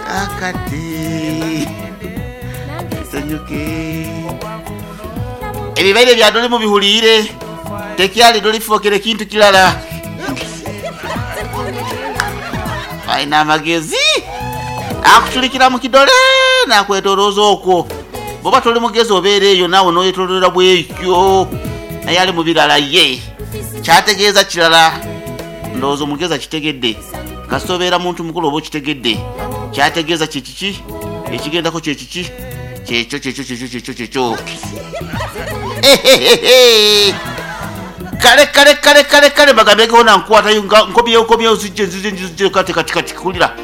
Akati tusanyuke. Ebibaire bya doli mubihuliire, tekyali doli fokere kintu kirala. Alina amagezi akuculikira mu kidole nakwetolooza okwo. Bwoba toli mugezi obeera eyo naawe noyetololera bwekyo, naye ali mu birala ye kyategeeza kirala. Ndowooza omugezi akitegedde. Kasita obeera muntu mukulu oba okitegedde. Kyategeeza kye kiki? Ekigendako kye kiki? Kyekyo kyekyo kyekyo kyekyo kyekyo. Ehehehe. Kale kale kale kale kale mbagambyegeho na nkwatayo nga nkomyewo nkomyewo nzije nzije nzije kati kati kati kulira.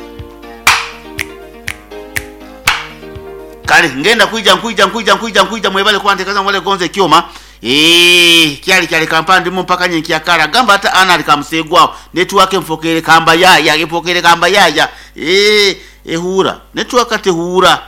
Kale ngenda kwija nkwija nkwija nkwija nkwija mwebale kuba ntekaza mwebale gonza ekyoma. Eeh kyali kyali kampa ndimu mpaka nyenkya kara gamba ata ana ali kamuseegwaho network enfokere kamba yaya enfokere kamba yaya eeh ehuura network tehuura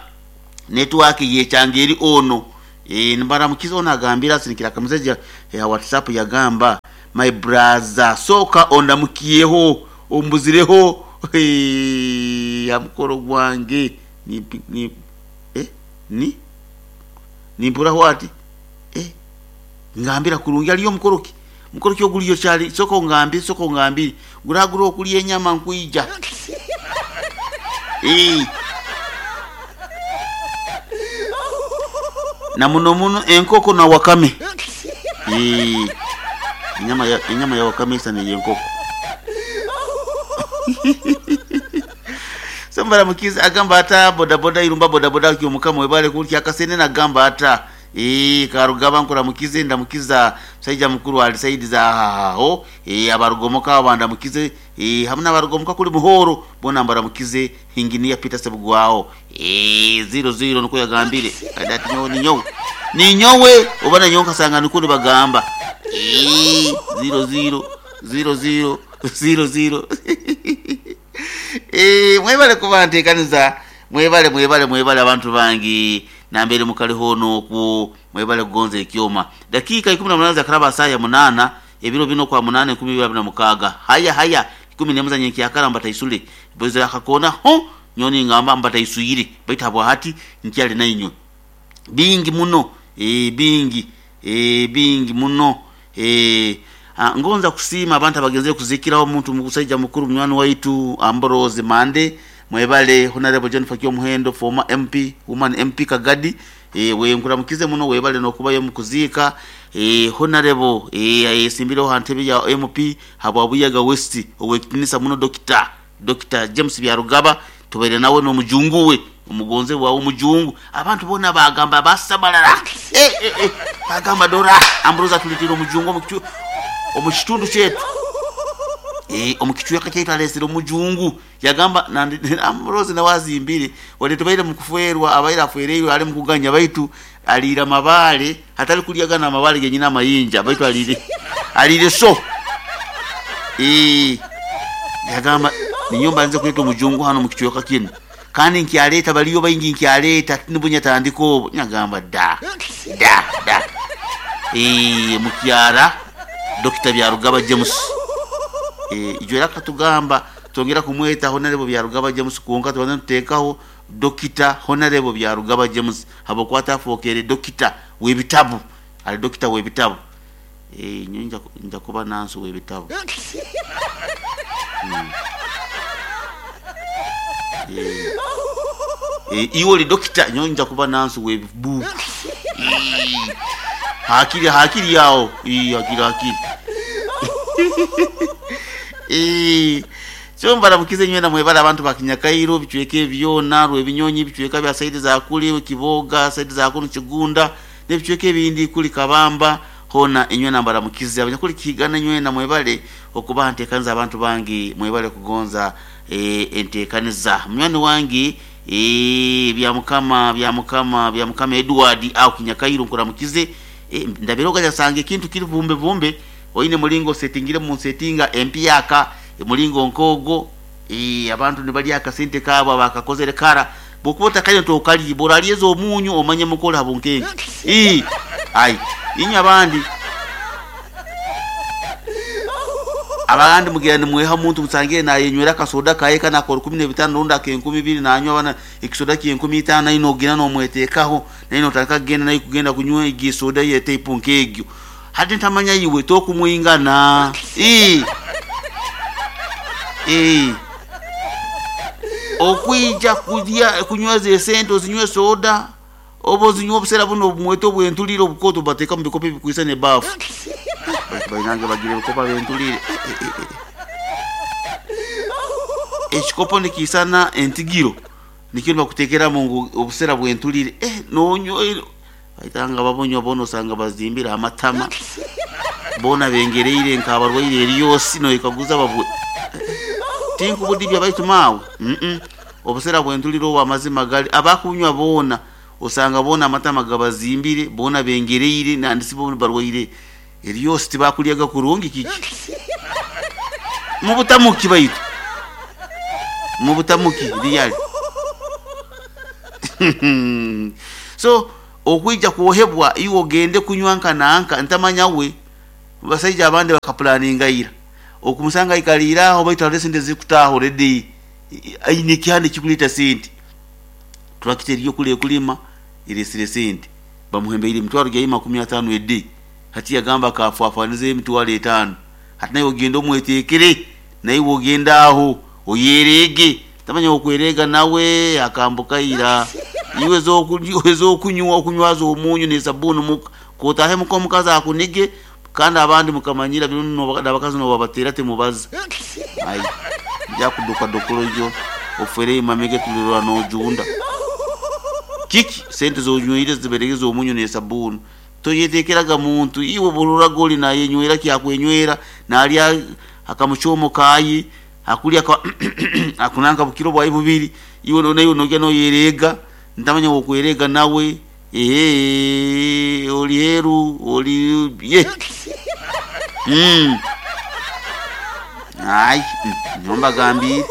network yekyanga eri ono eeh nimbaramukiza ono agambire asindikire akameseji ya whatsapp yagamba my braza sooka ondamukyeho ombuzireho eeh hamukoro gwange ni ni eh ni nimpuraho ati Eh, ngambira kurungi aliyo mukoro ki? Mukoro ki oguliyo kyali? Soka ongambire, soka ongambire. Guragura okulya enyama nkwija. Eh. Na muno muno enkoko na wakame. Eh. Enyama ya enyama ya wakame isana ey'enkoko. Sambara mukiza agamba ata bodaboda irumba bodaboda kyo mukama webale kulya akasene nagamba ata Eeh Karugaba nkuramukize ndamukiza musaija mukuru ali saidi za aho eeh abarugomoka abo bandamukize eeh hamu nabarugomoka kuli Muhoro bona mbaramukize Engineer Peter Sebugwaho eeh ziro ziro nukwo yagambire kadi ati nyowe ninyowe ninyowe oba nanyowe nkasanga nukwo nibagamba eeh ziro ziro ziro ziro ziro ziro eeh mwebale kuba ntekaniza Mwebale mwebale mwebale abantu bange nambere mukali hoona okwo mwebale kugonza ekyoma. Dakiika ikumi na munaana zakaraba saaha ya munaana ebiro binu okwa munaana enkumi ibiri abiri na mukaaga. Haya haya ikumi n'emu za nyenkyakara mbataisule boize akakoona ho nyowe ningamba mbataiswire baitu habwahati nkyali nainywe. Bingi muno eeh bingi eeh bingi muno eeh. Ngonza kusiima abantu abagenzere kuzikiraho omuntu musaija mukuru munywani waitu Ambrose Mande mwebale, Honarebo Jennifer Kyomuhendo former MP, Woman MP Kagadi eeh wenkuramukize muno webale nokubayo omukuziika eeh Honarebo eeh ayesimbireho ha ntebe ya MP habwa Buyaga West owekitinisa muno Dokita Dokita James Byarugaba tubaire nawe n'omujungu we, omugonzebwa we omujungu. Abantu boona baagamba baasamalala. Eh, eh, eh, baagamba dora, Ambrose atuleteire omujungu omu kitundu kyaitu. Eh, omu kicweka kyaitu aleesire omujungu. Yagamba nandi Ambrose nawe azimbire, wadde tubaire mu kufeerwa, abaire afwereirwe ali mu kuganya baitu aliire amabaale, hatali kulya gano amabaale genyini amayinja, baitu aliire aliire so. Eh. Yagamba, Ninyowe mbandize kuleeta omujungu hanu omu kicweka kinu, kandi nkyaleeta, baliyo baingi nkyaleeta, tinubwo nyatandika obu. Nyagamba, Da, da, da. Eeh, mukyara Dokita Byarugaba James. Eeh, ijo era akatugamba twongera kumweta Honarebo Byarugaba James kwonka tubanze nituteekaho Dokita Honarebo Byarugaba James habwokuba atafookere Dokita w'ebitabu, ali Dokita w'ebitabu. Eeh nyowe nja kuba nansi ow'ebitabu. Eeh iwe oli dokita nyowe nja kuba nansi w'ebibuuku. Hakiri hakiri aho, hakiri hakiri. Eeh so mbaramukize inywena mwebale abantu ba Kinyakairo, ebicweka ebi byona, Rwebinyonyi, ebicweka bya saidi za kuli Kiboga, saidi za kunu Kigunda, N'ebicweka ebindi kuli Kabamba hoona inywena mbaramukize. Abanyakuli Kihigana inywena mwebale okubaha ntekaniza abantu bange mwebale kugonza entekaniza. Munywani wange Byamukama Byamukama Byamukama Edward aho Kinyakairo nkuramukize. Ndabire ogaja sanga ekintu kiri vumbe vumbe oine mulingo osetingire mu nsetinga empyaka mulingo nk'ogwo. Abantu nibalya akasente kaabo abaakakozere kara. Bw'okuba otakaine tokalye, bw'oralyeza omunyu omanye muka oli ha bunkenke. Ii, ai, inywe abandi. Abandi mugira nimweha omuntu musangire nayenywera akasoda kaye kana ako 15 rundi aka 2000, nanywa bana ekisoda kye 5000, naye nogenda nomwetekaho, naye notandika kugenda naye kugenda kunywa egi soda ye type nk'egyo. Hati ntamanya iwe tokumwingana. Okwija kulya kunywa ze sente, ozinywe soda oba ozinywa obusera buno obumwete obwentulire obukoto bateeka mu bikopo ebikwisa n'ebaafu. Bainange bagira ebikopo bentulire. Ekikopo nikiisana entigiro nikyo nibakuteekeramu ngu obusera bwentulire. Nonywa baitanga babonywa boona osanga bazimbire amatama, boona bengereire nk'abarwaire eryosi, noyekaguza babwe tinkubudibya baitu maawe. Obusera bwentulire obwo amazima gali abakunywa boona osanga boona amatama gabazimbire, boona bengereire, nandisi boona barwaire eryosi, tibakulyaga kurungi. Kiki mubutamuki baitu mubutamuki really. So okwija kwohebwa iwe ogende kunywa nka nanka ntamanya we basaija abandi bakapulaninga ira okumusanga aikaliire aho, baitu hariho esente zikutaaha already, aine ekihanda ekikuleeta sente, turakita eriyo kuli ekulima eresire sente, bamuhembeire emitwaro gyaye 50 a day, hati yagamba akafwafwanizeyo emitwaro 5. Hati naiwe ogende omwetekere, naiwe ogende aho oyereege, tamanya okwereega nawe akambuka ira. Iwe ezokunywa okunywaza omunyu n'esabuni muka kotahe muka omukazi akunige, kandi abandi mukamanyira bino n'abakazi nobabatera temubaza ai nja kuduka dokolo ofere imamege tulirwa nojunda kiki sente zonywire ziberege z'omunyu n'esabuni. Toyetekeraga muntu iwe bururaga oli nayenywera kyakwenywera, nalya akamuchomo kayi akulya akunanka bukiro bwayi bubiri, iwe nayo nogya noyereega ntamanya wokwerega nawe oli heru oli ye. Ai nyomba gambire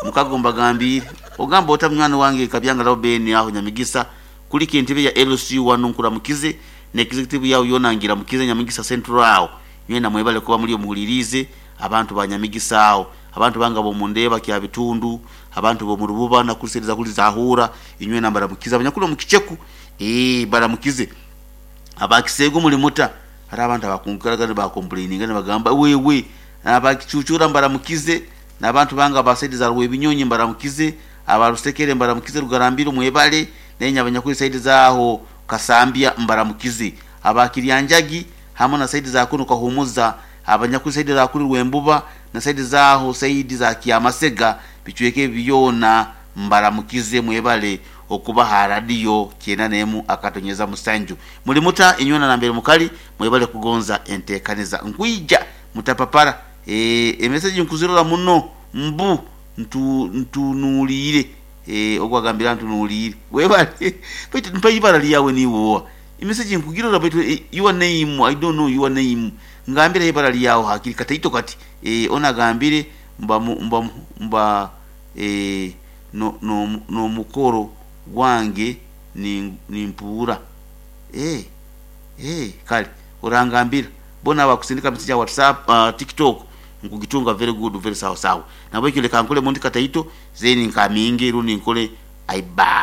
mukagomba gambire ogamba ota munywani wange kabyanga lao beni aho Nyamigisa kuliko entebe ya LC wano nkuramukize ne executive yawo yona ngira mukize Nyamigisa Central aho nywena mwebale kuba muri omuhulirize abantu ba Nyamigisa aho, abantu banga bomundeba kya bitundu, abantu bo murububa na kusereza kuli zahura inywe nambara mukiza abanyakulu mukicheku baramukize abakisego muri muta hari abantu abakunkaraga bakomplaininga bagamba wewe abakichuchura mbaramukize n'abantu banga basaidiza rwe binyonyi mbaramukize abarusekere mbaramukize rugarambiro mwebale nenya abanyakuli saidi zaho Kasambya mbaramukize abakiryanjagi hamwe na saidi za kuno kahumuza abanyakuli saidi za kuri Rwembuba na saidi zaho saidi za Kiamasega bichweke byona mbaramukize mwebale okuba ha radio 94 akatonyeza musanju muri muta inyona na mbere mukali mwebale kugonza entekaniza nkuija mutapapara emessage nkuzirora muno mbu ntunulire ogwagambira ntunulire webale baitu mpa ibara lyawe niwoa emessage nkugirora baitu your name I don't know your name ngambira ibara lyawe hakiri kataito kati onagambire mba mba mba no no no mukoro gwange ni nimpura kale orangambira bona bakusindika message ya WhatsApp, TikTok nkugitunga very good very sawa sawa nabo ikile kankole mundi kataito zeni nkaminge rundi nkole aiba.